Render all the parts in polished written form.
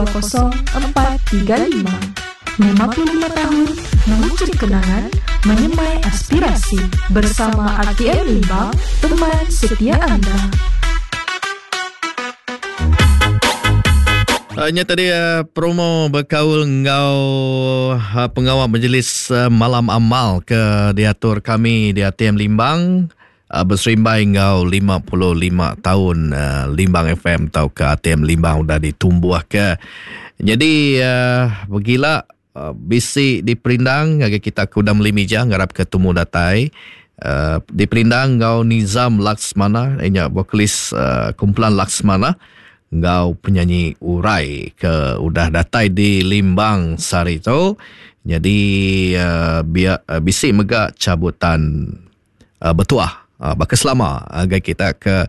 0435. 55 tahun mengukir kenangan, menyemai aspirasi bersama RTM Limbang, teman setia anda. Nya tadi promo bekaul enggau pengawa majlis malam amal ke diatur kami di ATM Limbang. Beserimbai enggau 55 taun Limbang FM tauka ATM Limbang udah ditumbuhka. Nyadi begila bisi diperindang ngagai kita ke udah meli mija ngarapka tumu datai. Diperindang enggau Nizam Laksmana iya nya vokalis kumpulan Laksmana enggau penyanyi Urai ke udah datai di Limbang sehari tu. Nyadi bisi mega cabutan betuah baka selama ngagai kita ke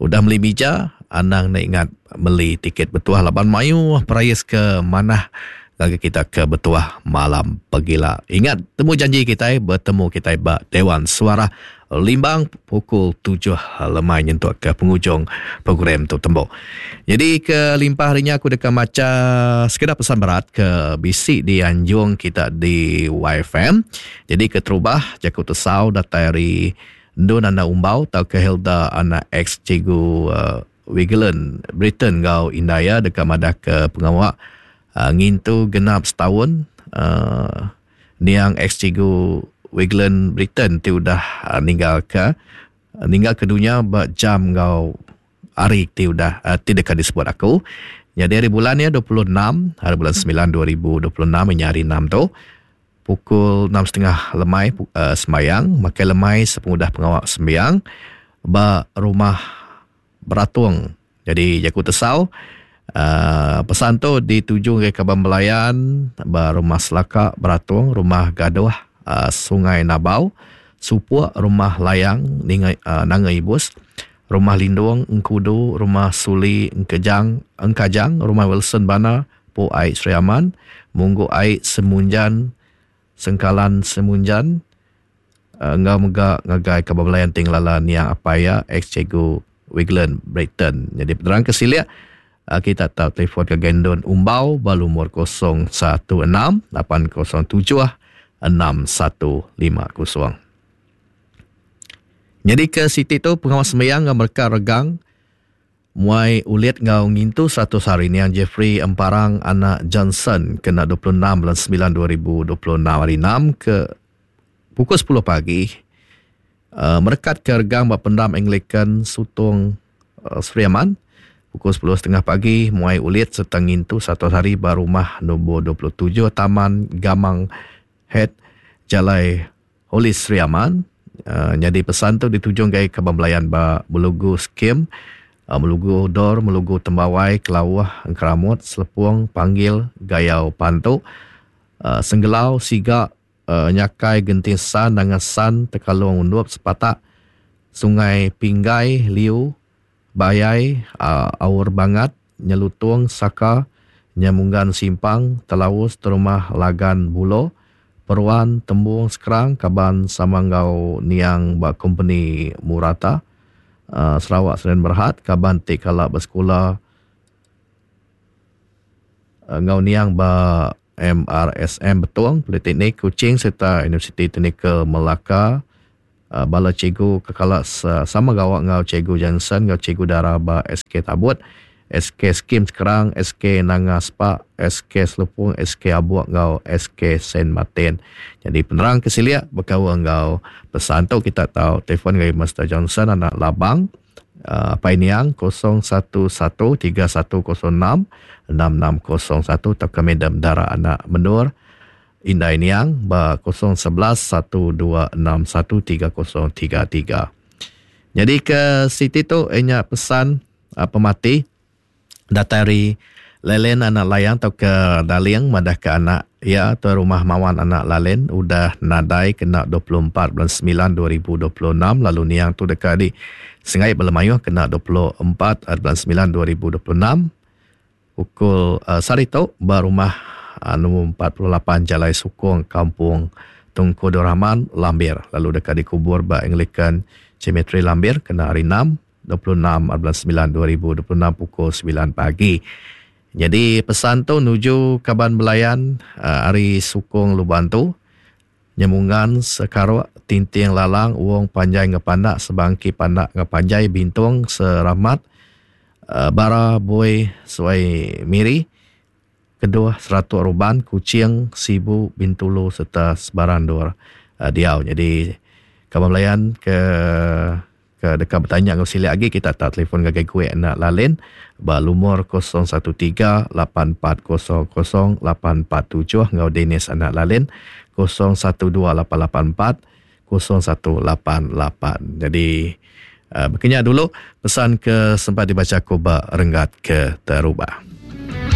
udah meli mija anang enda ingat meli tiket betuah laban mayuh perais ke manah ngagai kita ke betuah malam pegila. Ingat temu janji kitai betemu kitai ba Dewan Suarah Limbang pukul tujuh lemai nyentuk ke pengujung program tu tembu. Nyadi ke limpah hari nya aku deka macha sekeda pesan berat ke bisi dianjung kita di YFM. Nyadi keterubah jaku tesau datai ari Endun Anak Umbau tauka Hilda anak ex Cikgu Wigland Britain enggau indai iya deka madahka pengawa ngintu genap setaun niang ex Cikgu Wigland Britain ti udah ninggalka ninggalka dunya ba jam enggau hari ti udah ti deka disebut aku. Nyadi hari bulan iya 26 hari bulan semilan 2026 inya hari enam tu. Pukul enam setengah lemai sembayang, makai lemai sepengudah pengawa sembiang ba Rumah Beratung. Jadi jaku tesau uhh pesan tu dituju ngagai kaban belayan ba Rumah Selaka Beratung, Rumah Gadoh uhh Sungai Nabau, Supok, Rumah Layang Ninga Nanga Ibus, Rumah Lindong Engkudu, Rumah Suli Engkejang Engkajang, Rumah Wilson Bana, Pu Ai Sri Aman, Munggu Ai Semunjan, Sengkalan Semunjan enggau mega ngagai kaban belayan ti ngelala niang apai iya ex Cikgu Wigland Brighton. Nyadi penerang ke silik kita tau telefon ngagai Endun Umbau ba lumur 016 807 6150. Nyadi ke siti tu pengawa sembiang enggau mereka regang Muai ulit enggau ngintu 100 hari niang Jeffrey Emparang anak Johnson kena 26 bulan semilan 2026 hari enam ke pukul sepuluh pagi merekat ke regang ba pendam Anglican Sutong Sri Aman pukul sepuluh setengah pagi muai ulit sereta ngintu 100 hari ba rumah nombor 27 Taman Gamang Head Jalai Holy Sri Aman nyadi pesan tu ditujung ngagai kaban belayan ba Melugu Skim, Melugu Dor, Melugu Tembawai, Kelauh, Engkeramut, Selepong, Panggil, Gayau Pantu, Senggelau, Siga, Nyakai, Genting San, Nanga San, Tekalong Undup, Sepatak, Sungai Pinggai, Liu, Bayai, Aur Bangat, Nyelutung, Saka, Nyamunggan Simpang, Telaus, Terumah Lagan Bulo, Peruan, Tembung Sekrang, kaban sama enggau niang ba kompeni Murata, Sarawak Sdn Berhad, kaban ti kala besekula enggau niang ba MRSM Betong, Politeknik Kuching sereta Universiti Teknikal Melaka. Bala cikgu ke kala sama gawa enggau Cikgu Johnson enggau Cikgu Dara ba SK Tabut, SK Skim Sekerang, SK Nanga Spak, SK Selepong, SK Abuk enggau SK Saint Martin. Nyadi penerang ke silik bekaul enggau pesan tu kita tau telefon ngagai Mister Johnson anak Labang Apai Niang 011 3106 6601 tauka Madam Dara anak Menur Indai Niang ba 011 1261 3033. Nyadi ke siti tu iya nya pesan pemati datai ari Lelen anak Layang tauka Daling madahka anak iya tuai rumah Mawan anak Lalen udah nadai kena 24 bulan semilan 2026 lalu niang tu deka di sengai bala mayuh kena 24 bulan semilan 2026. Pukul sehari tu ba rumah nombor 48 Jalai Sukong Kampung Tunku Abdul Rahman, Lambir lalu deka dikubur ba Anglican Cemetery Lambir kena hari Enam, 26 bulan semilan 2026 pukul semilan pagi. Nyadi pesan tu nuju kaban belayan ari sukung Luban tu, Nyemungan, Sekaruk, Tinting Lalang, Wong Panjai enggau Pandak, Sebangki Pandak enggau Panjai, Bintong, Seramat, Bara, Bui, Suai Miri, Keduh, Seratuk Ruban, Kuching, Sibu, Bintulu sereta sebarang endur diau. Nyadi kaban belayan ke Ke deka betanya enggau silik agi kita tak telefon ngagai Guek enda lalin ba lumur 0138400847 enggau Dennis anak lalin 0128840188. Jadi uh, bekenya dulu pesan ke sempat dibaca aku ba renggat ke terubah.